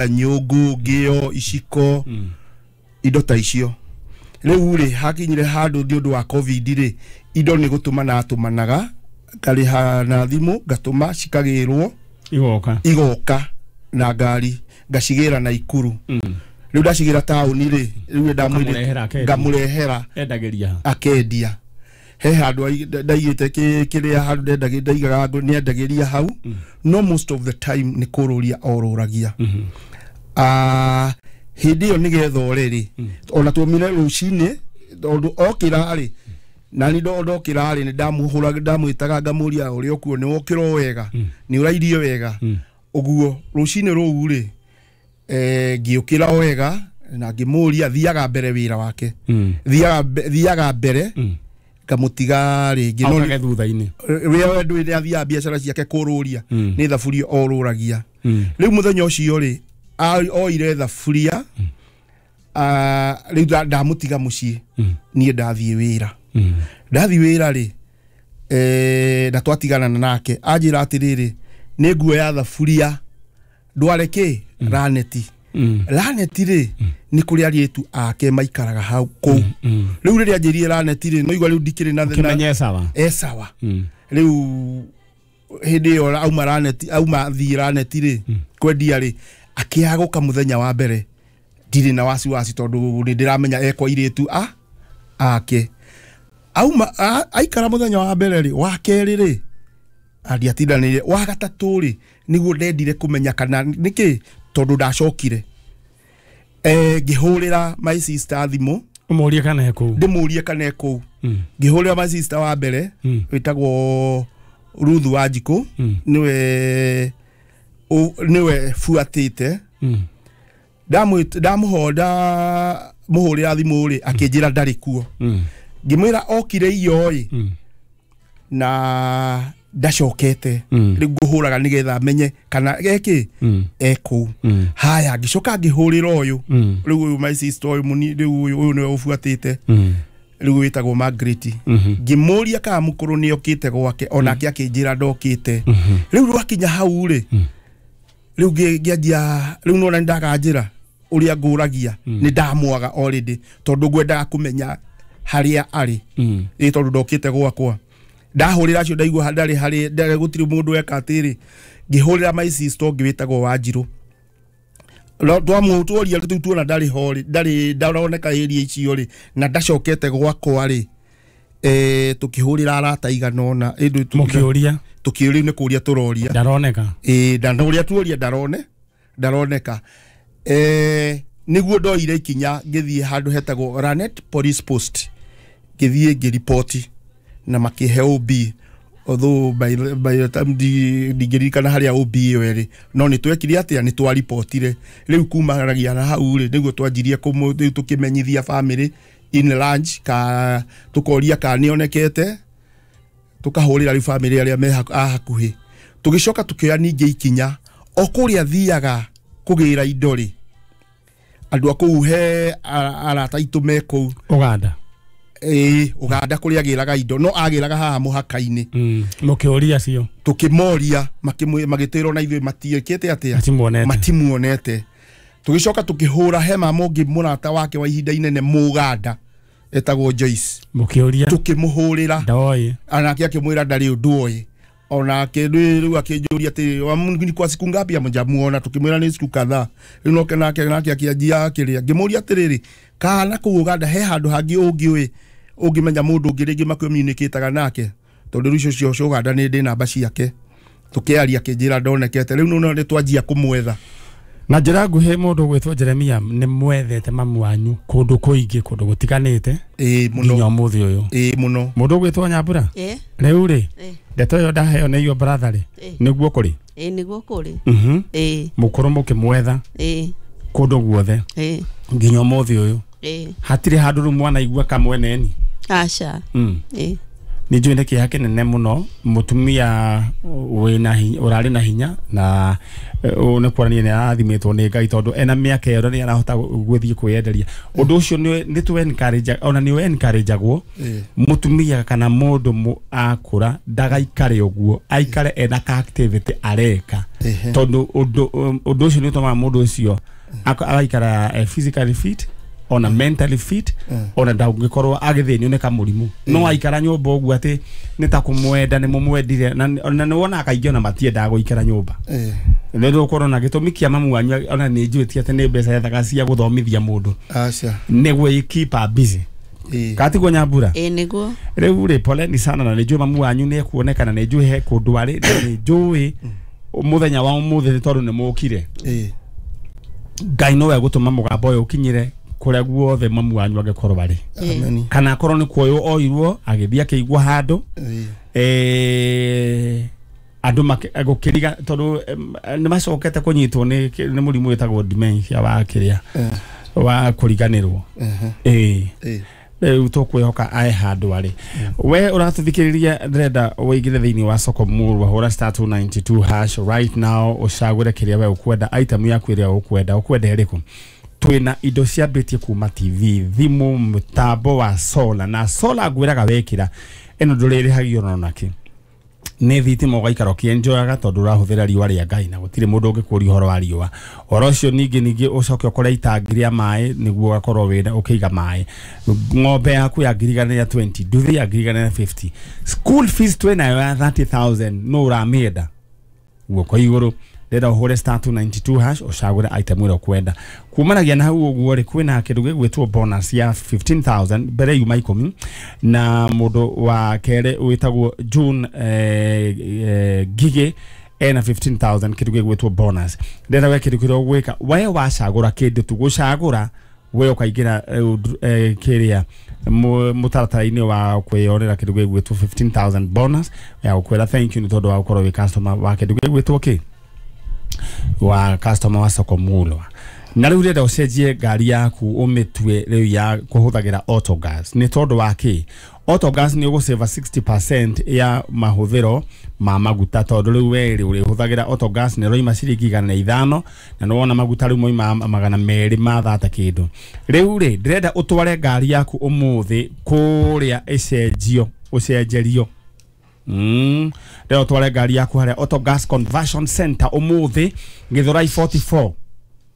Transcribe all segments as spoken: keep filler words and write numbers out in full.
Nyũngũ, ngĩo, iciko, indo ta icio. Rĩu rĩ, hakinyire handũ nĩ ũndũ wa COVID rĩ, indo nĩ gũtũmana atũmanaga, ngarĩha na thimũ, ngatũma cikagĩrwo. Igoka. Igoka na ngari, ngacigĩra Naikuru. Rĩu ndacigĩra taũni rĩ, rĩu Ũkamũrehera akendia. Ngamũrehera. Endagĩria. Akendia. He handũ ai- ndaigĩte kĩ- kĩrĩa handũ ndendagĩ- ndaigaga ngũ- nĩendagĩria hau, no most of the time nĩ kũrũria orũragia. Ah, hĩndĩ ĩyo nĩgetha ore rĩ, ona tuomire rũcinĩ tondũ okĩra rĩ, nani ndokĩra rĩ, nĩ ndamũhũra, ndamwĩtaga, ngamũria ũrĩa ũkuo, nĩ wokĩra o wega, nĩ ũrairie wega ũguo. Rũcinĩ rũu rĩ, eh, ngĩũkĩra o wega na ngĩmũria. Thiaga mbere wĩra wake, thiaga mbe- thiaga mbere, ngamũtiga rĩngĩ. No Okage thutha-inĩ. Wĩra ndũĩ nĩ athiaga biacara ciake kũrũria, nĩ thaburia orũragia. Rĩu mũthenya ũcio rĩ, a- oire thaburia. Ah, rĩu nda- ndamũtiga mũciĩ, niĩ ndathiĩ wĩra. Ndathiĩ wĩra rĩ, eh, na twatigana nake anjĩra atĩrĩrĩ, nĩ nguoya thaburia ndware kĩ Raneti. Raneti rĩ, nĩ kũrĩa arĩtu ake maikaraga hau kũu. Rĩu rĩrĩa anjĩrire Raneti rĩ, no igua rĩu ndikĩrĩ na Kĩmenye sawa. E sawa. Rĩu hĩndĩ ĩyo auma Raneti, auma thiĩ Raneti rĩ, kwendia rĩ, akĩaga gũka mũthenya wa mbere. Ndirĩ na wasiwasi tondũ nĩ ndĩramenya ekwa irĩtu a ake. Auma a- aikara mũthenya wa mbere rĩ, wa kerĩ rĩ, andiatindanĩire. Wa gatatũ rĩ, nĩguo ndendire kũmenya kana nĩkĩ, tondũ ndacokire. eh, ngĩhũrĩra my sister thimũ. Ũmũrie kana e kũu. Ndĩmũrie kana e kũu. Ngĩhũrĩra my sister wa mbere wĩtagwo Ruth Wanjikũ, nĩwe ũ- nĩwe buatĩte. Ndamũho ndamũhũrĩra thimũ rĩ, akĩnjĩra ndarĩ kuo. Ngĩmwĩra okire iyo ĩ na ndacokete, rĩu ngũhũraga nĩgetha menye kana ekĩ e kũu. Haya, ngĩcoka ngĩhũrĩra ũyũ rĩu, ũyũ my sister ũyũ mũni, rĩu ũyũ ũyũ nĩwe ũbuatĩte rĩu, wĩtagwo Margaret. Ngĩmũria kana mũkũrũ nĩ okĩte gwake, onake akĩnjĩra ndokĩte. Rĩu rwakinya hau rĩ, rĩu ngĩ- ngĩanjia rĩu nona nĩ ndaganjĩra ũrĩa ngũragia, nĩ ndamwaga already tondũ ngwendaga kũmenya harĩa arĩ. Ĩ tondũ ndokĩte gwakwa, ndahũrĩra acio, ndaigua ndarĩ harĩ ndarĩ, gũtirĩ mũndũ weka atĩrĩ. Ngĩhũrĩra my sister ũngĩ wĩtagwo Wanjirũ. Twamũtworia rĩu tuona ndarĩ ho rĩ, ndarĩ ndaroneka area icio rĩ, na ndacokete gwakwa rĩ, eh, tukĩhũrĩra arata igana ũna. Ĩndũ Mũkĩũria. Tukĩũria, nĩ kũria tũroria. Ndaroneka. Ĩĩ, na ũrĩa tuoria, ndarone ndaroneka. eh, nĩguo ndoire ikinya, ngĩthiĩ handũ hetagwo Lanet Police Post, ngĩthiĩ ngĩripoti na makĩhe O B, although by, the- by the time ndi- ndingĩririkana harĩa O B ĩyo ĩrĩ, no nĩ twekire atĩa, nĩ twaripotire. Rĩu kumanagia na hau rĩ, nĩguo twanjirie kũmũ- rĩu tũkĩmenyithia family in lunch ka tũkoria ka nĩonekete, tukahũrĩra rĩu family arĩa me haku- a hakuhĩ. Tũgĩcoka tũkĩoya ningĩ ikinya o kũrĩa thiaga kũgĩra indo rĩ, andũ a kũu, he ara- arata aitũ me kũu. Ũganda. Ĩĩ, Ũganda kũrĩa agĩraga indo, no agĩraga haha mũhaka-inĩ. Mũkĩũria acio. Tũkĩmoria, makĩmwĩ- magĩtwĩra ona ithuĩ matiĩkĩte atĩa. Matimuonete. Matimuonete. Tũgĩcoka tũkĩhũra he mama ũngĩ, mũrata wake wa ihinda inene Mũganda, etagwo Joyce. Mũkĩũria. Tũkĩmũhũrĩra. Ndoĩ. Anake akĩmwĩra ndarĩ ũndũ oĩ onake. Rĩu akĩnjũria atĩrĩ, "Wa- ni kwa siku ngapi hamjamuona?" Tukĩmwĩra nĩ siku kadhaa. Rĩu noke nake nake akĩanjia akĩrĩa. Ngĩmũria atĩrĩrĩ, kana kũu Ũganda he handũ hangĩ ũngĩũĩ, ũngĩmenya mũndũ ũngĩ rĩngĩ makomunicataga nake, tondũ rĩu icio cio Ũganda nĩ ndĩ namba ciake. Tũkĩaria, akĩnjĩra ndonekete. Rĩu nĩ nĩ twanjia kũmwetha. Na njĩra nguhĩ, mũndũ gwĩtwo Jeremia, nĩ mwethete mamu wanyu kũndũ kũingĩ, kũndũ gũtiganĩte. Ĩĩ, mũno. Nginya ũmũthĩ ũyũ. Ĩĩ, mũno. Mũndũ ũgwĩtwo Nyambura, ĩ rĩu rĩ, ĩ ndeto ĩyo ndaheo nĩ iyo brother rĩ, Ĩ. nĩguo kũrĩ? Ĩ, nĩguo kũrĩ. Mhm. Ĩ. Mũkũrũ mũkĩmwetha ĩ kũndũ guothe ĩ nginya ũmũthĩ ũyũ, ĩ hatirĩ handũ rĩu mwanaigua kamweneni? Aca. Mm. Ĩ. Nĩ njũĩ nĩ kĩeha kĩnene mũno mũtumia wĩna hinya, ũrarĩ na hinya na ũũ nĩ kuonania nĩ arathimĩtwo nĩ Ngai tondũ ena mĩaka ĩyo nĩ arahota gũthiĩ kwĩyenderia. Ũndũ ũcio nĩ nĩ tũ encourage, ona nĩ encourage-agwo Ĩĩ. mũtumia kana mũndũ mũ akũra ndagaikare ũguo, aikare ena ka activity areka. Ehe. Tondũ ũndũ ũndũ ũcio nĩ ũtũmaga mũndũ ũcio ako- agaikara eh, physically fit ona mentally fit, ona ndangĩkorwo agĩthĩnio nĩ kamũrimũ. No aikara nyũmba ũguo atĩ nĩ ta kũmwenda nĩ mũmwendire, na na nĩ wonaga kaingĩ ona matiendaga gũikara nyũmba. Ĩĩ. Nĩ ũkorwo na gĩtũmi kĩa mamu wanyu, ona nĩ njũĩ ti atĩ nĩ mbeca ethaga cia gũthomithia mũndũ, Aca. nĩguo keep her busy. Ĩĩ. Katiguo Nyambura? Ĩĩ nĩguo. Rĩu rĩ, poleni sana, na nĩ njũĩ mamu wanyu nĩ ekuonekana, nĩ njũĩ he kũndũ arĩ, na nĩ njũĩ mũthenya wa ũmũthĩ nĩ tondũ nĩ mũkire. Ĩĩ. Ngai nowe gũtũma mũgambo ũyũ ũkinyĩre kũrĩa guothe mamu wanyu angĩkorwo arĩ, Ameni. kana akorwo nĩ kuoywo oirwo agĩthiĩ akĩigwo handũ. Ĩĩ. eh, andũ makĩ- gũkĩriga tondũ em, nĩ macokete kũnyitwo nĩ nĩ mũrimũ wĩtagwo dementia wa kĩrĩa Eh. wa kũriganĩrwo. Ehe. Ĩĩ. Ĩĩ. Rĩu tũkwĩhoka ae handũ arĩ. We ũratũthikĩrĩria, ndĩrenda ũingĩre thĩinĩ wa soko murwa, hũra star two ninety-two hash right now, ũcagũre kĩrĩa we ũkwenda, item yaku ĩrĩa ũkwenda. Ũkwenda ĩrĩkũ? Twĩna indo ciambĩtie kuma T V, thimũ, mũtambo wa solar, na solar ngwĩraga wekĩra ĩno ndũrĩrĩhagio ona nakĩ, nĩ thitima, ũgaikara ũkĩenjoyaga tondũ ũrahũthĩra riũa rĩa Ngai na gũtirĩ mũndũ ũngĩkũria ũhoro wa riũa ũhoro ũcio. Ningĩ ningĩ ũcoke ũkore itangi rĩa maĩ nĩguo ũgakorwo wĩna ũkĩiga maĩ, ng'ombe yaku ya ngiri igana rĩa mĩrongo ĩrĩ, nduthi ya ngiri igana rĩa mĩrongo ĩtano, school fees twĩnayo ya thirty thousand. No ũramĩenda? Guoko igũrũ. Ndĩrenda ũhũre star two ninety-two hash, ũcagũre item ĩrĩa ũkwenda. Kumanagia na hau ũguo rĩ, kwĩna kĩndũ gĩgwĩtwo bonus ya fifteen thousand, mbere yuma ikũmi, na mũndũ wa kerĩ wĩtagwo June eh, eh, Ngigĩ ena fifteen thousand, kĩndũ gĩgwĩtwo bonus. Ndĩrenda we kĩndũ kĩrĩa ũgwĩka, we wacagũra kĩndũ tu, gũcagũra we ũkaingĩra eh, eh, kĩrĩa mu- mũtaratara-inĩ wa kwĩyonera kĩndũ gĩgwĩtwo fifteen thousand bonus ya gũkwĩra thank you nĩ tondũ wa gũkorwo wĩ customer wa kĩndũ gĩgwĩtwo kĩ wa customer wa soko mulwa. Na rĩu rĩenda ũcenjie ngari yaku ũmĩtue rĩu ya kũhũthagĩra autogas. Nĩ tondũ wa kĩ? Autogas nĩ ũgũsave sixty percent ya mahũthĩro ma maguta, tondũ rĩu we rĩ ũrĩhũthagĩra autogas nĩ ĩroima ciringi igana na ithano, na nĩ wona maguta rĩu moima magana merĩ ma thata kĩndũ. Rĩu rĩ, ndĩrenda ũtware ngari yaku ũmũthĩ kũrĩa ĩcenjio, ũcenjerio. Mm. Rĩo ũtware ngari yaku harĩa Autogas Conversion Center ũmũthĩ, Gĩthũrai forty-four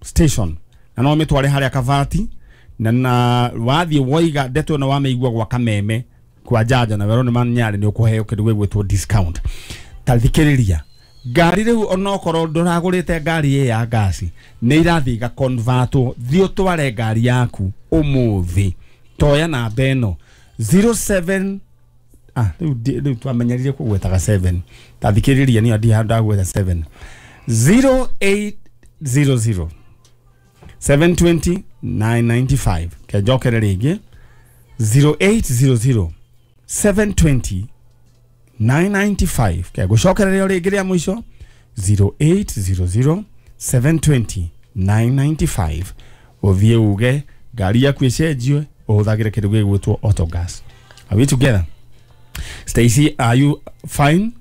station, na no mĩtware harĩa Kabati, na na wathiĩ woiga ndeto ĩno wamĩigua gwa Kameme kwa Janja na werwo nĩ manyarĩ, nĩ ũkũheo kĩndũ gĩgwĩtwo discount. Ta thikĩrĩria, ngari rĩu onokorwo ndũragũrĩte ngari ĩ ya ngasi, nĩ irathiĩ igaconvertwo. Thiĩ ũtware ngari yaku ũmũthĩ, toya namba ĩno zero seven. Ah, rĩu ndi- rĩu twamenyerire kũgwetaga seven. Ta thikĩrĩria, niyo ndi ndagweta seven, zero eight zero zero seven two zero nine nine five. Kenjokere rĩngĩ, zero eight zero zero seven two zero nine nine five. Ke gũcokereria rĩngĩ rĩa mũico, zero eight zero zero seven two zero nine nine five. Ũthiĩ uge ngari yaku ĩcenjio ũhũthagĩre kĩndũ gĩgwĩtwo autogas. Are we together? Stacy, are you fine?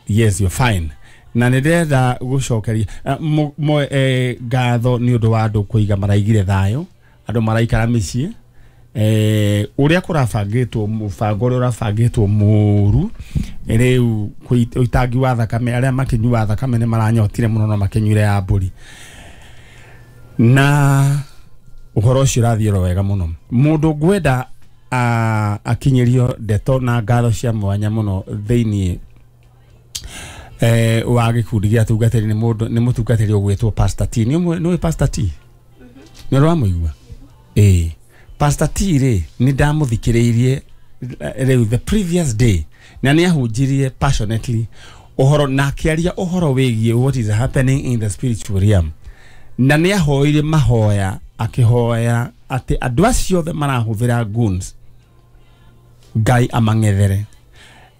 Yes, you're fine. Na nĩ ndĩrenda gũcokeria eh, mo- mo- eh, ngatho nĩ ũndũ wa andũ kũiga maraigire thayũ, andũ maraikara mĩciĩ eh, ũrĩa kũrabangĩtwo, mũbango ũrĩa ũrabangĩtwo mũru. Rĩu kũi- ũitangi wa thakame, arĩa makĩnyua thakame nĩ maranyotire mũno, no makĩnyuire ya mbũri, na ũhoro ũcio ũrathiĩ oro wega mũno. Mũndũ ngwenda ah, akinyĩrio ndeto na ngatho cia mwanya mũno thĩiniĩ eh, wa gĩkundi gĩa atungatĩri nĩ mũndũ, nĩ mũtungatĩri ũgwĩtwo Pastor T. Nĩ ũmwe- nĩ ũĩ Pastor T? Nĩ ũramũigua? Ĩĩ, Pastor T rĩ, nĩ ndamũthikĩrĩirie eh, rĩu the previous day, na nĩ ahunjirie passionately ũhoro na akĩaria ũhoro wĩgiĩ what is happening in the spiritual realm, na nĩ ahoire mahoya, akĩhoya atĩ andũ acio othe marahũthĩra goons Ngai amang'ethere.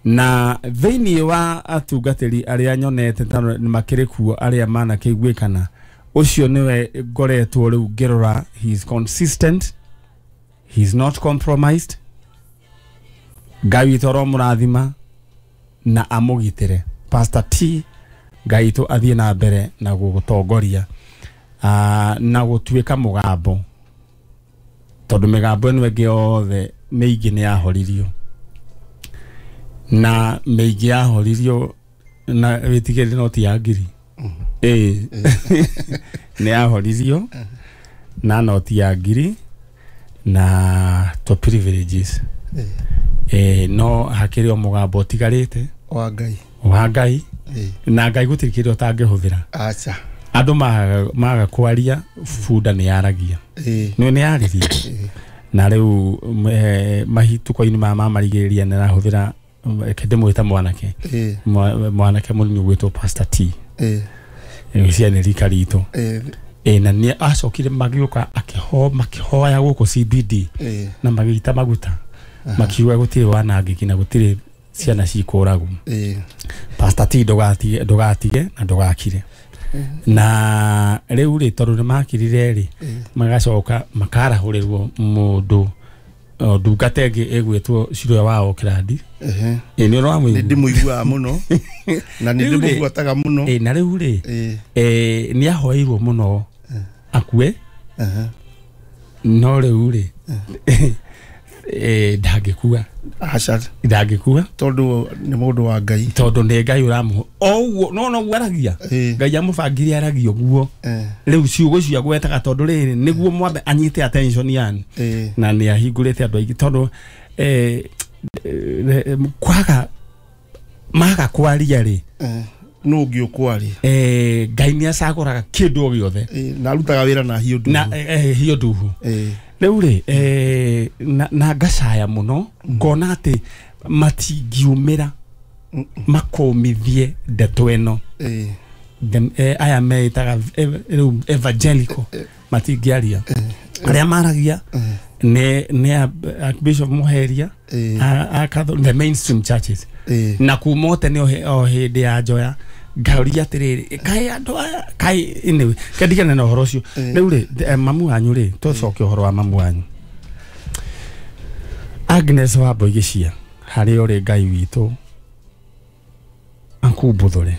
Na thĩinĩ wa atungatĩri arĩa nyonete ta nĩ makĩrĩ kuo arĩa manakĩiguĩkana, ũcio nĩwe ngoretwo rĩu ngĩrora. He is consistent, he is not compromised. Ngai witũ aromũrathima na amũgitĩre. Pastor T, Ngai witũ athiĩ na mbere na gũgũtongoria uh, na gũtuĩka mũgambo, tondũ mĩgambo ĩno ĩngĩ yothe mĩingĩ nĩ yahoririo, na mĩingĩ yahoririo na wĩtigĩre noti ya ngiri ĩĩ nĩ yahoririo na noti ya ngiri na to privileges eh no hakĩrĩ o mũgambo ũtigarĩte wa Ngai wa Ngai na Ngai gũtirĩ kĩndũ ũtangĩhũthĩra. Acha andũ maga maga kwaria bunda nĩ yaragia nĩ nĩ yaririe na rĩu mahituko-inĩ ma mamarigĩrĩria nĩ arahũthĩra kĩndĩ mwĩta mwanake mwanake mũnini ũgwĩtwo Pastor T ĩĩ cia nĩ rika ritũ ĩĩ na nĩ acokire magĩũka akĩho makĩhoya gũkũ C B D na magĩita maguta makiuga gũtirĩ wanangĩki na gũtirĩ ciana cikũragwo. Pastor T ndũgatige ndũgatige na ndũgakire. Na rĩu rĩ tondũ nĩ makirire rĩ magacoka makarahũrĩrwo mũndũ ndungata ĩngĩ ĩgwĩtwo Ciroya wa Oakland. Ehe ĩ nĩ ũramũigua? Nĩ ndĩmũiguaga mũno na nĩ ndĩmũbuataga mũno. Ĩ na rĩu rĩ eh nĩ ahoeirwo mũno akue no rĩu rĩ eh ndangĩkua. Aca ndangĩkua tondũ nĩ mũndũ wa Ngai, tondũ nĩ Ngai ũramũhe o ũguo no no ũguo aragia Ngai amũbangire aragia ũguo rĩu ciugo icio agwetaga tondũ rĩrĩ nĩguo mwambe anyite attention yani na nĩ ahingũrĩte andũ aingĩ tondũ eh kwaga maga kwaria rĩ no ũngĩ ũkwaria eh Ngai nĩ acagũraga kĩndũ o gĩothe na arutaga wĩra na hiũ nduhu na hiũ nduhu rĩu rĩ eh na ngacaya mũno ngona atĩ matingiumĩra makũmithie ndeto ĩno aya meĩtaga rĩu evangelical matingĩaria arĩa maragia nĩ nĩ Archbishop Muheria a the mainstream churches na kuma tene o hĩndĩ ya Njoya ngauria atĩrĩrĩ kaĩ andũ aya kaĩ anyway kendigane na ũhoro ũcio rĩu rĩ mamu wanyu rĩ tũcoke ũhoro wa mamu wanyu Agnes wa Mboigĩcia harĩ ũrĩ Ngai witũ akumbũthũre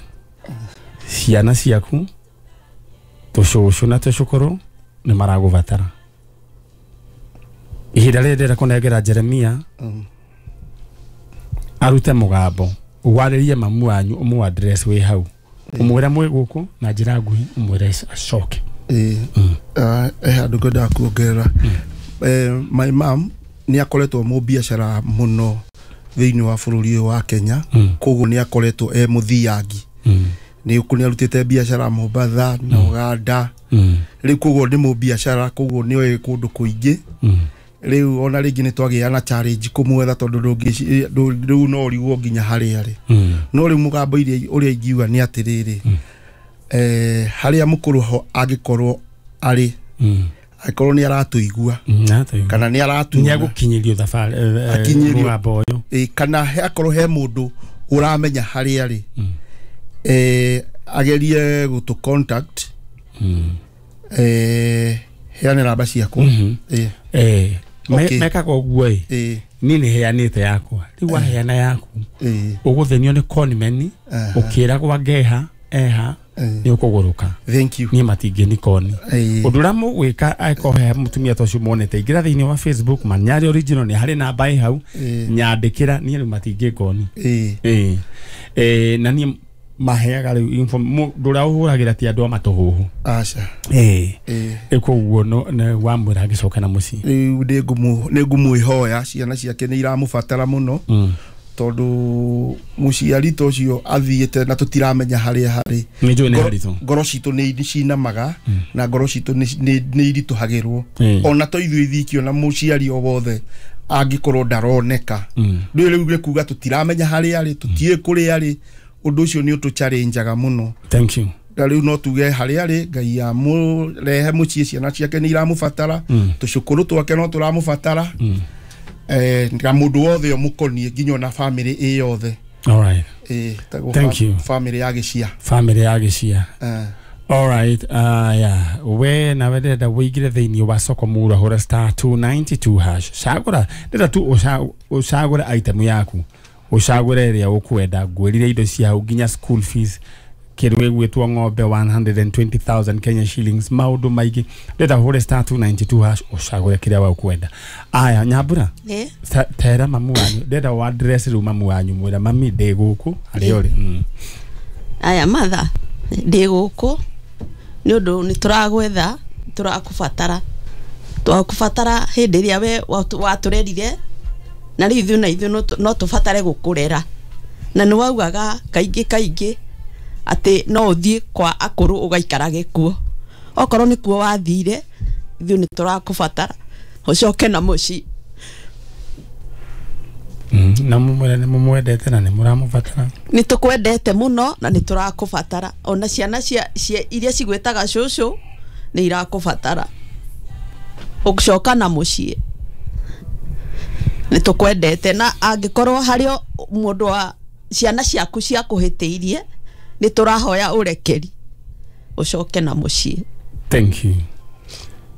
ciana ciaku tũcũcũ na tũcũkũrũ nĩ maragũbatara ihinda rĩrĩ ndĩrenda kũnengera Jeremia arute mũgambo warĩrie mamu wanyu ũmũ address wĩ hau ũmwĩre mwĩ gũkũ na njĩra nguhĩ ũmwĩre acoke. Ĩĩ eh handũ ngwendaga kuongerera my mom nĩ akoretwo mũbiacara mũno thĩinĩ wa bũrũri ũyũ wa Kenya koguo nĩ akoretwo e mũthiangi nĩ nĩ arutĩte biacara Mombatha na Uganda rĩu koguo nĩ mũbiacara koguo nĩ oĩ kũndũ kũingĩ rĩu ona rĩngĩ nĩ twagĩa na challenge kũmwetha tondũ rĩu no ũrigwo nginya harĩa arĩ no rĩu mũgambo ũrĩa ingiuga nĩ atĩrĩrĩ eh harĩa mũkũrũ angĩkorwo arĩ angĩkorwo nĩ aratũigua kana nĩ aratuona nĩ agũkinyĩrio thabarĩ mũgambo ũyũ kana akorwo he mũndũ ũramenya harĩa arĩ eh agerie gũtũ contact eh heane namba ciakwa eh eh mekaga ũguo ĩ niĩ nĩ heanĩte yakwa rĩu waheana yaku ũgũthenio nĩ conmen ũkĩragwo ngeha eha nĩ ũkũgũrũka. Thank you. Niĩ matingĩ koni ũndũ ũrĩa mũgwĩka angĩkorwo he mũtumia ta ũcio muonete ingĩra thĩinĩ wa Facebook Manyari original nĩ harĩ namba ĩ hau nyandĩkĩra niĩ rĩu matingĩ koni ĩĩ ĩĩ na niĩ maheaga rĩu info mũndũ ũrĩa ũhũragĩra ti andũ a matũhũhũ aca ĩĩ ĩĩ koguo no wamwĩra agĩcoka na mũciĩ rĩu nĩ ngũmwĩhoya ciana ciake nĩ iramũbatara mũno tondũ mũciari ta ũcio athiĩte na tũtiramenya harĩa harĩ nĩ njũĩ nĩ haritũ ngoro citũ nĩ cinamaga na ngoro citũ nĩ iritũhagĩrwo ona to ithuĩ ithiki ona mũciari o wothe angĩkorwo ndaroneka rĩu rĩu nĩ kuga tũtiramenya harĩa arĩ tũtiĩ kũrĩa arĩ ũndũ ũcio nĩ ũtũchallengeaga mũno. Thank you. Na rĩu no tuge harĩa arĩ Ngai amũrehe mũciĩ ciana ciake nĩ iramũbatara tũcũkũrũ twake no tũramũbatara eh na mũndũ wothe ũmũkoniĩ nginya ona family ĩ yothe. All right. Eh thank you. Family ya Gĩcia family ya Gĩcia eh Alright, uh, yeah. We nawe ndĩrenda wĩingĩre thĩinĩ wa soko mura hũra star two ninety-two hash. Cagũra, ndĩrenda tu ũca- ũcagũre item yaku, ũcagũre ĩrĩa ũkwenda. Ngwĩrire indo cia hau nginya school fees, kĩndũ gĩgwĩtwo ng'ombe one hundred and twenty thousand Kenya shillings, maũndũ maingĩ. Ndĩrenda ũhũre star two ninety-two hash ũcagũre kĩrĩa we ũkwenda. Aya, Nyambura, Ĩ. ta- tera mamu wanyu, ndĩrenda wa address rĩu mamu wanyu, mwĩra mami ndĩ gũkũ harĩa ũrĩ. Mm. Aya matha, ndĩ gũkũ nĩ ũndũ nĩ tũragwetha, tũrakũbatara, twakũbatara hĩndĩ ĩrĩa we watu-, watũrerire, na rĩu ithuĩ na ithuĩ no tũ-, no tũbatare gũkũrera. Na nĩ waugaga kaingĩ kaingĩ atĩ no ũthiĩ kwa akũrũ ũgaikarage kuo, okorwo nĩ kuo wathire, ithuĩ nĩ tũrakũbatara ũcoke na mũciĩ. Mm, na mũmwĩre nĩ mũmwendete na nĩ mũramũbatara. Nĩ tũkwendete mũno na nĩ tũrakũbatara, ona ciana cia, cia iria cigwĩtaga cũcũ nĩ irakũbatara ũcoka na mũciĩ. Nĩ tũkwendete, na angĩkorwo harĩ mũndũ wa ciana ciaku ciakũhĩtĩirie, nĩ tũrahoya ũrekeri ũcoke na mũciĩ. Thank you.